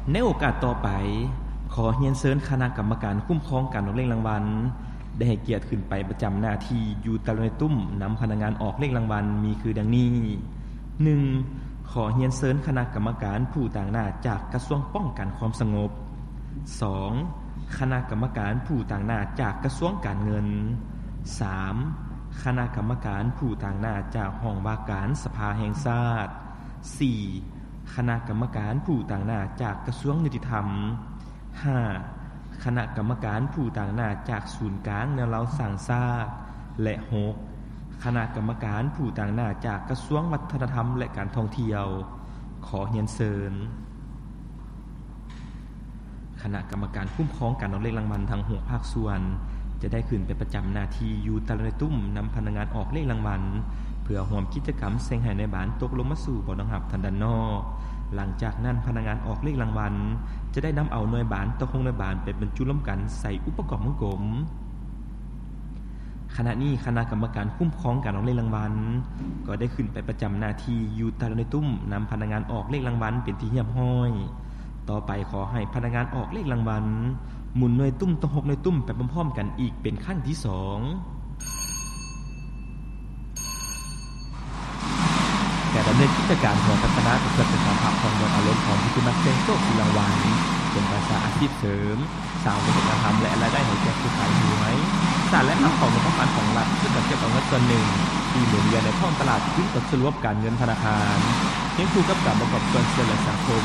ໃນໂອກາດຕໍ່ໄປ, ຂໍຮຽນເຊີນຄະນະກຳມະການຄຸ້ມຄອງການອອກເລກລາງວັນ ໄດ້ໃຫ້ກຽດຂຶ້ນໄປປະຈຳໜ້າທີ່ຢູ່ແຕ່ລະໜ່ວຍຕຸ້ມ ນຳພະນັກງານອອກເລກລາງວັນ ມີຄືດັ່ງນີ້: ໜຶ່ງ ຂໍຮຽນເຊີນຄະນະກຳມະການຜູ້ຕາງໜ້າຈາກກະຊວງປ້ອງກັນຄວາມສະຫງົບ. ສອງ ຄະນະກຳມະການຜູ້ຕາງໜ້າຈາກກະຊວງການເງິນ. ສາມ ຄະນະກຳມະການຜູ້ຕາງໜ້າຈາກຫ້ອງວ່າການສະພາແຫ່ງຊາດ. ສີ່ ຄະນະກຳມະການຜູ້ຕາງໜ້າຈາກກະຊວງຍຸຕິທຳ. ຫ້າ ຄະນະກຳມະການຜູ້ຕາງໜ້າຈາກສູນກາງແນວລາວສ້າງຊາດ. ແລະ ຫົກ ຄະນະກຳມະການຜູ້ຕາງໜ້າຈາກກະຊວງວັດທະນະທຳ ແລະ ການທ່ອງທ່ຽວ. ຂໍຮຽນເຊີນ. ຄະນະກຳມະການຄຸ້ມຄອງການອອກເລກລາງວັນທັງຫົກພາກສ່ວນ ຈະໄດ້ຂຶ້ນໄປປະຈຳໜ້າທີ່ຢູ່ແຕ່ລະໜ່ວຍຕຸ້ມ ນຳພະນັກງານອອກເລກລາງວັນ ເພື່ອຮ່ວມກິດຈະກຳສ່ຽງໃຫ້ນາຍບານຕົກລົງມາສູ່ບ່ອນຮອງຮັບທາງດ້ານນອກ. ຫຼັງຈາກນັ້ນ, ພະນັກງານອອກເລກລາງວັນ ຈະໄດ້ນຳເອົາໜ່ວຍບານທັງຫົກໜ່ວຍບານໄປບັນຈຸລວມກັນໃສ່ອຸປະກອນວົງກົມ. ຂະນະນີ້, ຄະນະກຳມະການຄຸ້ມຄອງການອອກເລກລາງວັນ ກໍໄດ້ຂຶ້ນໄປປະຈຳໜ້າທີ່ຢູ່ແຕ່ລະໜ່ວຍຕຸ້ມ ນຳພະນັກງານອອກເລກລາງວັນເປັນທີ່ຮຽບຮ້ອຍ. ຕໍ່ໄປ, ຂໍໃຫ້ພະນັກງານອອກເລກລາງວັນ ໝູນໜ່ວຍຕຸ້ມທັງຫົກໜ່ວຍຕຸ້ມໄປພ້ອມໆກັນອີກເປັນຄັ້ງທີສອງ. ການດຳເນີນກິດຈະການຫົວພັດທະນາ ກໍເພື່ອເປັນການພັກຜ່ອນຢ່ອນອາລົມຂອງຜູ້ທີ່ມັກສ່ຽງໂຊກຖືລາງວັນ ເປັນການສ້າງອາຊີບເສີມ, ສ້າງວັດທະນະທຳ ແລະ ລາຍໄດ້ໃຫ້ແກ່ຜູ້ຂາຍຫວຍ, ສ້າງແຫຼ່ງຮັບຂອງງົບປະມານຂອງລັດ ເພື່ອຈັດເກັບເອົາເງິນສ່ວນໜຶ່ງທີ່ໝູນວຽນໃນທ້ອງຕະຫຼາດຄືນເຂົ້າສູ່ລະບົບການເງິນທະນາຄານ, ຄຽງຄູ່ກັບການປະກອບສ່ວນຊ່ວຍເຫຼືອສັງຄົມ,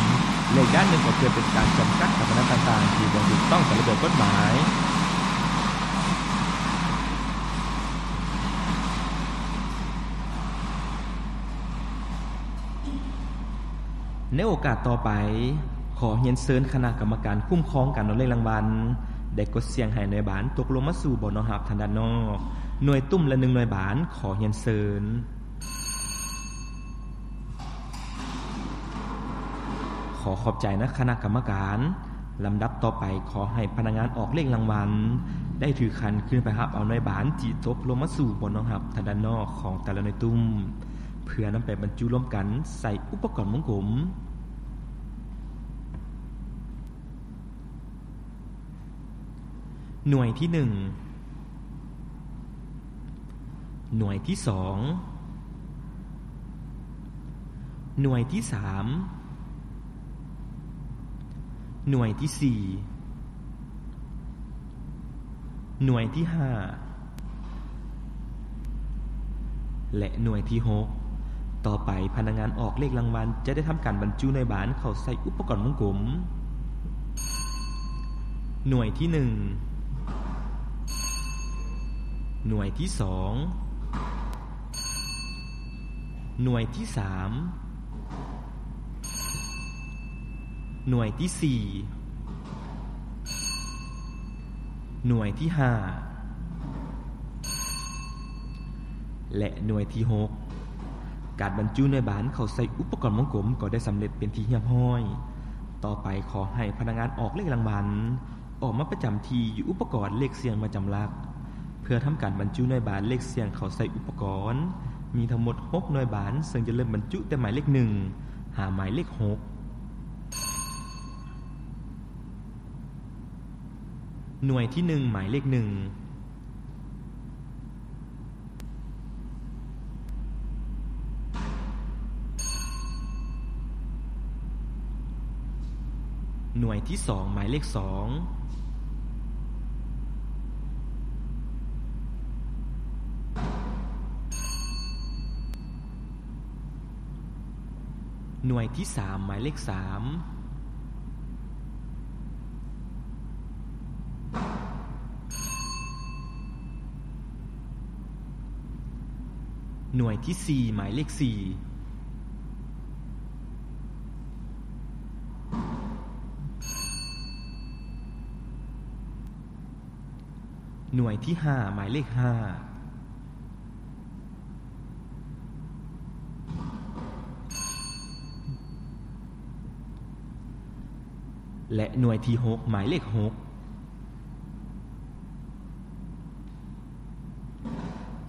ແລະ ອີກດ້ານໜຶ່ງກໍເພື່ອເປັນການຈຳກັດການພະນັນຕ່າງໆທີ່ບໍ່ຖືກຕ້ອງຕາມລະບຽບກົດໝາຍ. ໃນໂອກາດຕໍ່ໄປ, ຂໍຮຽນເຊີນຄະນະກຳມະການຄຸ້ມຄອງການອອກເລກລາງວັນ ໄດ້ກົດສ່ຽງໃຫ້ໜ່ວຍບານຕົກລົງມາສູ່ບ່ອນຮອງຮັບທາງດ້ານນອກ, ໜ່ວຍຕຸ້ມລະໜຶ່ງໜ່ວຍບານ, ຂໍຮຽນເຊີນ. ຂໍຂອບໃຈນະຄະນະກຳມະການ. ລຳດັບຕໍ່ໄປ, ຂໍໃຫ້ພະນັກງານອອກເລກລາງວັນ ໄດ້ຖືຂັນຂຶ້ນໄປຮັບເອົາໜ່ວຍບານທີ່ຕົກລົງມາສູ່ບ່ອນຮອງຮັບທາງດ້ານນອກຂອງແຕ່ລະໜ່ວຍຕຸ້ມ ເພື່ອນຳໄປບັນຈຸລວມກັນໃສ່ອຸປະກອນວົງກົມ. ໜ່ວຍທີໜຶ່ງ, ໜ່ວຍທີສອງ, ໜ່ວຍທີສາມ, ໜ່ວຍທີສີ່, ໜ່ວຍທີຫ້າ ແລະ ໜ່ວຍທີຫົກ. ຕໍ່ໄປ, ພະນັກງານອອກເລກລາງວັນຈະໄດ້ທຳການບັນຈຸໜ່ວຍບານເຂົ້າໃສ່ອຸປະກອນວົງກົມ. ໜ່ວຍທີໜຶ່ງ, ໜ່ວຍທີສອງ, ໜ່ວຍທີສາມ, ໜ່ວຍທີສີ່, ໜ່ວຍທີຫ້າ ແລະ ໜ່ວຍທີຫົກ. ການບັນຈຸໜ່ວຍບານເຂົ້າໃສ່ອຸປະກອນວົງກົມກໍໄດ້ສຳເລັດເປັນທີ່ຮຽບຮ້ອຍ. ຕໍ່ໄປ, ຂໍໃຫ້ພະນັກງານອອກເລກລາງວັນ ອອກມາປະຈຳທີ່ຢູ່ອຸປະກອນເລກສ່ຽງປະຈຳຫຼັກ ເພື່ອທຳການບັນຈຸໜ່ວຍບານເລກສ່ຽງເຂົ້າໃສ່ອຸປະກອນ. ມີທັງໝົດຫົກໜ່ວຍບານ, ເຊິ່ງຈະເລີ່ມບັນຈຸແຕ່ໝາຍເລກໜຶ່ງ ຫາໝາຍເລກຫົກ. ໜ່ວຍທີໜຶ່ງ ໝາຍເລກໜຶ່ງ. ໜ່ວຍທີສອງ ໝາຍເລກສອງ. ໜ່ວຍທີສາມ ໝາຍເລກສາມ. ໜ່ວຍທີສີ່ ໝາຍເລກສີ່. ໜ່ວຍທີຫ້າ ໝາຍເລກຫ້າ. ແລະ ໜ່ວຍທີຫົກ ໝາຍເລກຫົກ.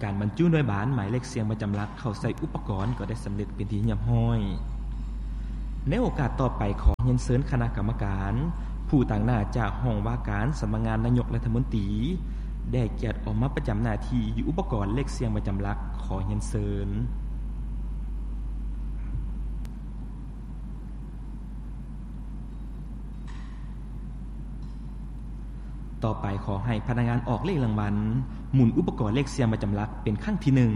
ການບັນຈຸໜ່ວຍບານໝາຍເລກສ່ຽງປະຈຳຫຼັກເຂົ້າໃສ່ອຸປະກອນກໍໄດ້ສຳເລັດເປັນທີ່ຮຽບຮ້ອຍ. ໃນໂອກາດຕໍ່ໄປ ຂໍຮຽນເຊີນຄະນະກຳມະການ ຜູ້ຕາງໜ້າຈາກຫ້ອງວ່າການສຳນັກງານນາຍົກລັດຖະມົນຕີ ໄດ້ກຽດອອກມາປະຈຳໜ້າທີ່ຢູ່ອຸປະກອນເລກສ່ຽງປະຈຳຫຼັກ. ຂໍຮຽນເຊີນ. ຕໍ່ໄປ ຂໍໃຫ້ພະນັກງານອອກເລກລາງວັນ ໝູນອຸປະກອນເລກສ່ຽງປະຈຳຫຼັກເປັນຄັ້ງທີໜຶ່ງ.